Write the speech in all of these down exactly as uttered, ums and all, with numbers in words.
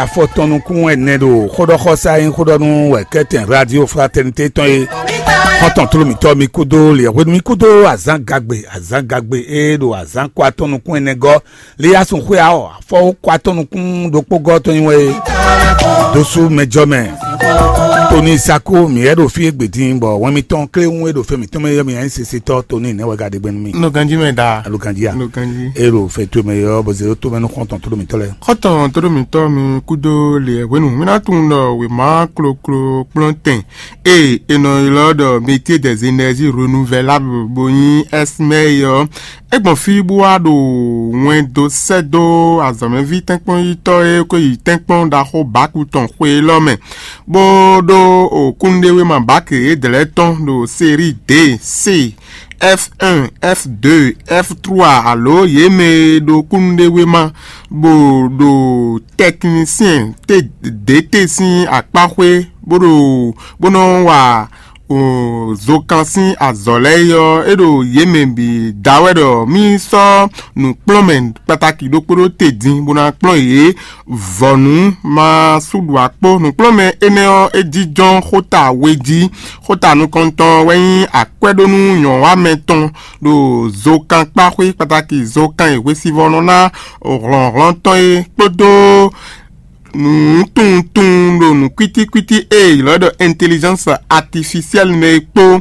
Afɔtɔn nukún ɛnɛ ɖo xóɖɔxɔsá e nyí xóɖɔnú wɛ kɛ́tɛn Radio Fraternité tɔn é. Xɔ́ntɔn tló mǐtɔn mi kúdó liɛ̌hwenu mi kúdó azǎn gagbe, azǎn gagbe e ɖo azǎn kɔ atɔn nukún ɛnɛ gɔ́. Liyasun xwé aɔ afɔwó kɔ atɔn nukún ɖokpó gɔ́ tɔn nyi wɛ é. Dósú mɛjɔ mɛ. Toni Sako mǐ wɛ ɖo fí égbé dín bɔ wɛn mitɔn kléwún e ɖo fɛn mǐtɔn mɛ yɔ mǐ anyí sesitɔ Toni nɛ́ wɛ ka ɖe gbɛn nú mì. Nɔ ganjí mɛ da. Alo ganjí a? Nɔ ganjí. E ɖo fɛn towe mɛ yɔ bɔ zé ɖó to mɛ nú xɔ́ntɔn tló mǐtɔn lɛ́ɛ. Xɔ́ntɔn tló mǐtɔn mi kúdó liɛ̌hwenu mi ná tunwun ɖɔ wěma kloklo kplɔ́ntɛn e è nɔ ylɔ́ ɖɔ métier des énergies renouvelables bó nyí S M E ɔ́, é gbɔn fí bó wá ɖo wɛn dó sɛ́ dó azɔ̌mɛví tɛ́nkpɔ́nyítɔ́ e ko yi tɛ́nkpɔ́n ɖaxó bǎku tɔn xwe élɔ́ mɛ, bó ɖó kúnnuɖewéma bǎki yědɛɛ lɛ́ɛ tɔn ɖo série D, C, F un, F deux, F trois alo yě mɛ e ɖo kúnnuɖewéma bó ɖo tɛknisyɛn te ɖě te sín akpáxwé bó ɖo bó nɔ wa zokan sín azɔ̌ lɛ́ɛ é ɔ́, é ɖo yě mɛ bǐ da wɛ ɖɔ mì sɔ́ nǔkplɔ́nmɛ kpatáki ɖokpó ɖó te din bó ná kplɔ́n yě vɔ̌nu ma sú ɖu akpó. Nǔkplɔ́nmɛ énɛ́ ɔ́, é jínjɔ́n xóta we jí. Xóta nukɔntɔn wɛ nyí akwɛ́ɖónú nyɔ̌wamɛ tɔn ɖo zokan kpáxwé kpatáki zokan e hwesivɔ́ nɔ ná hlɔ̌nhlɔ́n tɔn é kpódó nǔtunwuntunwun ɖo nǔkwítíkwítí e è ylɔ́ ɖɔ intelligence artificielle mɛ é kpó.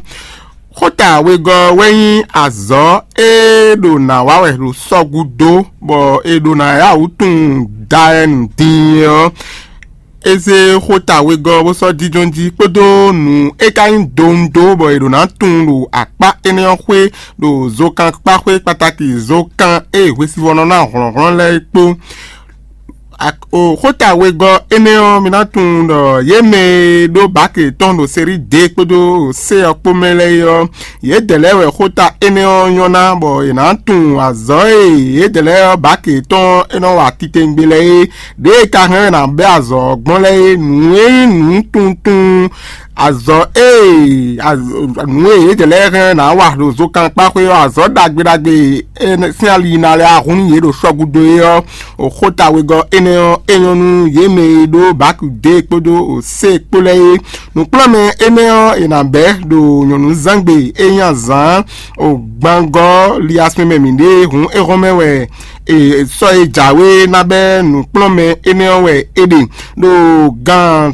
Xóta wegɔ́ wɛ nyí azɔ̌ e ɖo nǎ wa wɛ ɖo sɔ́ gúdo, bɔ è ɖo nǎ yá wǔ tunwun da wɛ nǔ din é ɔ́, é zé xóta wegɔ́ bó sɔ́ jínjɔ́n jí kpódó nǔ e ka nyí donu dó bɔ è ɖǒ ná tunwun ɖo akpá énɛ́ ɔ́ xwé ɖo zokan kpáxwé kpatáki zokan e hwesivɔ́ nɔ ná hlɔ̌nhlɔ́n lɛ́ɛ é kpó. Xóta wegɔ́ énɛ́ ɔ́, mi ná tunwun ɖɔ yě mɛ e ɖó bǎki yětɔn ɖo Seríi D kpódó C ɔ́ kpó mɛ lɛ́ɛ é ɔ́, yědɛɛ lɛ́ɛ wɛ xóta énɛ́ ɔ́ nyɔ́ ná, bɔ è nǎ tunwun azɔ̌ e yědɛɛ lɛ́ɛ ɔ́ bǎki yětɔn e nɔ wa titewungbe lɛ́ɛ é. Ɖěe ka hɛn ɔ́ è nǎ bɛ́ azɔ̌ ɔ́ gbɔn lɛ́ɛ é, nǔ e nyí nǔ tunwun tunwun azɔ̌ e nǔ e yědɛɛ lɛ́ɛ hɛn ɔ́ è nǎ wa ɖo zokankpáxwé ɔ́, azɔ̌ ɖagbe ɖagbe e sín ali yi ná lɛ́ɛ ahún nú yě ɖo sɔ́ gúdo é ɔ́, xóta wegɔ́ énɛ́ ɔ́, é nyɔ́ nú yě mɛ e ɖó bǎki D kpódó C kpó lɛ́ɛ é. Nǔkplɔ́nmɛ énɛ́ ɔ́, è nǎ bɛ́ ɖo nyɔ̌nuzángbe e nyí azǎn gbangɔ́ liasmɛ mɛ mǐ ɖe hǔn é hɔn mɛ wɛ sɔ́ e jǎwe ná bɛ́ nǔkplɔ́nmɛ énɛ́ ɔ́ wɛ é ɖe ɖo gan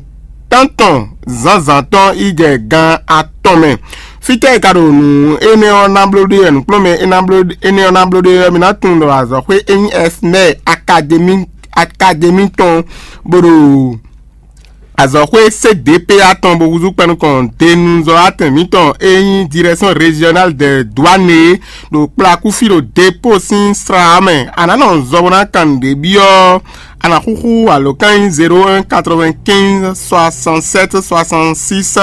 tántɔn zǎnzǎn tɔn yi jɛ gan atɔn mɛ. Fítɛ́ e ka ɖo nǔ énɛ́ ɔ́ ná bló ɖe wɛ nǔkplɔ́nmɛ énɛ́ ɔ́ ná bló ɖe wɛ mi ná tunwun ɖɔ azɔ̌xwé e nyí Ɛsmɛ́ɛ akademi akademi tɔn bó ɖo azɔ̌xwé C D P A tɔn bó húzú kpɛnukɔn denuzɔ́ atɛn mǐtɔn e nyí Direction Régionale des Douanes ɖo kplakúfí ɖo dépôt sín slá mɛ. A nǎ nɔ zɔ bó ná kan nǔɖé byɔ́. A nǎ xúxú alǒkan nyí zéro un quatre-vingt-quinze soixante-sept soixante-six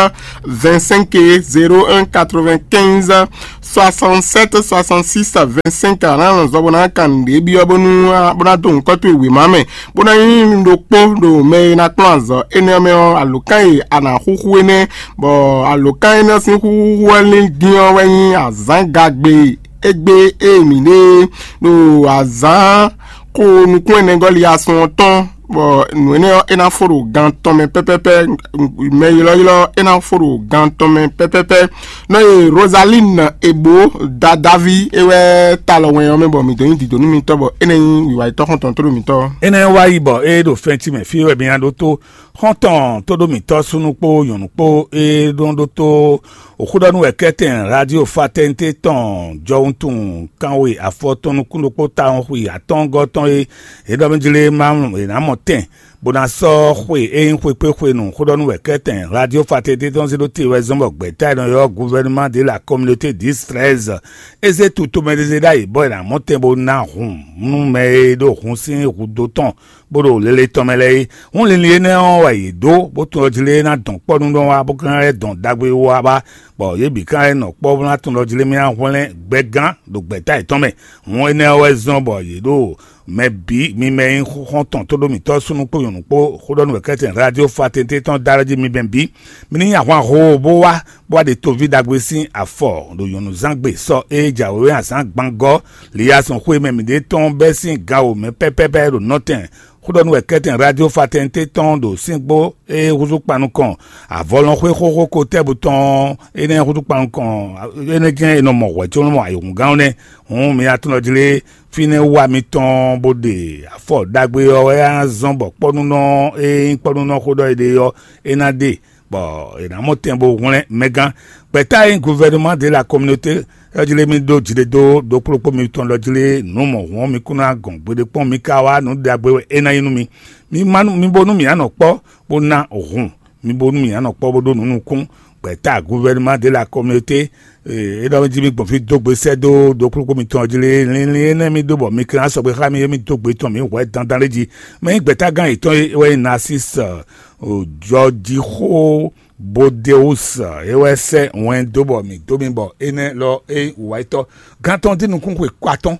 vingt-cinq é, zéro un quatre-vingt-quinze soixante-sept soixante-six vingt-cinq. A nǎ nɔ zɔ bó ná kan nǔɖé byɔ́ bónú bó ná dó nǔkɔ́ towe wěma mɛ, bó ná nyí ɖokpó ɖo mɛ e ná kplɔ́n azɔ̌ énɛ́ ɔ́ mɛ ɔ́, alǒkan e a nǎ xúxú énɛ́, bɔ alǒkan énɛ́ ɔ́ sín xúxú ɔ́ lín dín ɔ́ wɛ nyí azǎngagbe égbé e mǐ ɖe ɖo azǎn xo nukún ɛnɛgɔ́ li asɔn ɔ́ tɔn, bɔ nǔ énɛ́ ɔ́ é ná fó ɖo gan tɔn mɛ pɛ́pɛ́pɛ́, mɛ ylɔ́ylɔ́ é ná fó ɖo gan tɔn mɛ pɛ́pɛ́pɛ́. Nɔ e Rosaline Ebo Dadavi é wɛ ta lɔ wɛn ɔ́ mɛ bɔ mǐ dó nyi dǐdó nú mitɔ́, bɔ é nɛ́ nyí wǐwá yětɔn xɔ́ntɔn tó ɖo mǐtɔn. Énɛ́ wá yi bɔ é ɖo fɛ́ntí mɛ fí wɛ mi ná ɖótó xɔ́ntɔn tó ɖó mǐtɔn súnnu kpó nyɔ̌nu kpó é nɔ ɖótó òxúɖɔnú wɛ kɛ́tɛn Radio Fraternité tɔn jɔwuntun kanwe afɔtɔn nukún ɖokpó tawun xwi atɔ́ngɔ́ tɔn e é ɖɔ mɛ jlé ma è nǎ mɔ tɛn bó ná sɔ́ xwe e nyí xwekpéxwenu xóɖɔnú wɛ kɛ́tɛn Radio Fraternité tɔn zé ɖó te wɛ zɔ́n bɔ gbɛ̌ta e nɔ ylɔ́ Gouvernement de la Communauté dix treize é zé tu tomɛɖézé ɖ'ayǐ bɔ è nǎ mɔ tɛn bó ná hun nú mɛ e ɖo hun sín hudó tɔn bó ɖo lele tɔn mɛ lɛ́ɛ é. Hún linlin énɛ́ ɔ́ wɛ yě ɖó, bó tunwun ɖɔ jlé ná dɔn kpɔ́ nú nɔ wá, bó ka ná dɔn ɖagbe wá bá, bɔ yě bǐ ka ná nɔ kpɔ́ bó ná tunwun ɖɔ jlé mì ná hwlɛ́n gbɛgán ɖo gbɛ̌ta yětɔn mɛ. Hún énɛ́ ɔ́ wɛ zɔ́n bɔ yě ɖo mɛ bǐ mi mɛ e nyí xɔ́ntɔn tó ɖó mǐtɔn súnnu kpó nyɔ̌nu kpó xóɖɔnú wěkɛ́tɛn Radio Fraternité tɔn dó alɔ jí mi mɛ bǐ. Mi ní nyi ahwan hoo bó wá, bó wá ɖe toví ɖagbe sín afɔ ɖo nyɔ̌nuzángbe sɔ e jǎwe azǎn gbangɔ́ Liyazɔn xwé mɛ mǐɖée tɔn bɛ́ sín gan wǒ mɛ pɛ́pɛ́pɛ́ ɖo nɔtɛn Xó ɖɔ nú wɛ kɛ́tɛn Radio Fraternité tɔn ɖo síngbó e húzú kpan nukɔn avɔlɔnxwé xóxó ko tɛ́bú tɔn énɛ́ húzú kpan nukɔn énɛ́ jɛ́n è nɔ mɔ hwɛ̌ có nɔ mɔ ayǐhúngán ɔ́ nɛ́. Hǔn mi atúnɔ jlé fínɛ́ wá mitɔn bó ɖe afɔ ɖagbe ɔ́ wɛ á zɔ́n bɔ kpɔ́núnɔ e nyí kpɔ́núnɔ xó ɖɔ è ɖe ɔ́, é ná ɖe, bɔ è nǎ mɔ tɛn bó hwlɛ́n mɛgán. Gbɛ̌ta e nyí guvɛnumá de la communauté ɔ́ jlé mì ɖó jlé dó ɖokplɔ́kpó mitɔn lɔ jlé nǔ mɔ̌hun ɔ́, mi kún ná gɔn gbeɖé kpɔ́n, mi ka wá nǔ ɖagbe wɛ é ná nyí nú mi. Mi ma nú mi bónú mǐ ná nɔ kpɔ́ bó ná hun, mi bónú mǐ ná nɔ kpɔ́ bó ɖó nǔ nukún. Gbɛ̌ta guvɛnumá de la communauté, é ɖɔ jí mi gbɔn fí dó gbe sɛ́ dó ɖokplɔ́kpó mitɔn ɔ́ jlé. Linlin énɛ́ mi ɖó bɔ mi kɛn ná sɔgbe xá mi é mi dó gbe tɔn mǐ hwɛ̌ dandan lé jí. Mɛ nyí gbɛ̌tágán yětɔn é wɛ nyí Narcisse, jɔjíxó Bodeus, é wɛ sɛ́ wɛn dó bɔ mǐ dó mi bɔ énɛ́ lɔ é nyí wǔwáyítɔ́ gán tɔn dín nukún xwe kɔ atɔ́ɔ́n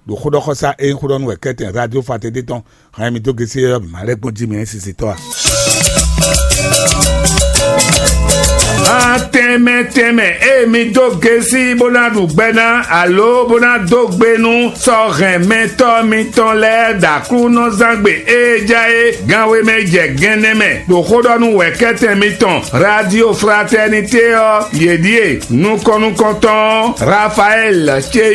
ɖo xóɖɔxɔsá e nyí xóɖɔnú wɛ kɛ́tɛn Radio Fraternité tɔn. Hɛn mi dó gesi ɔ́, mǐ ma lɛ́ gbɔn jí mi nyí sisitɔ́ a? Má tɛnmɛ tɛnmɛ, ée mi dó gesi bó ná ɖu gbɛ ná, alo bó ná dó gbe nú sɔ́ hɛn mɛtɔ́ mitɔn lɛ́ɛ ɖo Aklúnɔzángbe e ja é gánwé mɛ jɛ gɛ́nnɛ́ mɛ, ɖo xó ɖɔ nú wɛ̌kɛ́tɛn mitɔn Radio Fraternité ɔ́, yě ɖíe: nukɔn nukɔntɔn Rafaɛ́l ce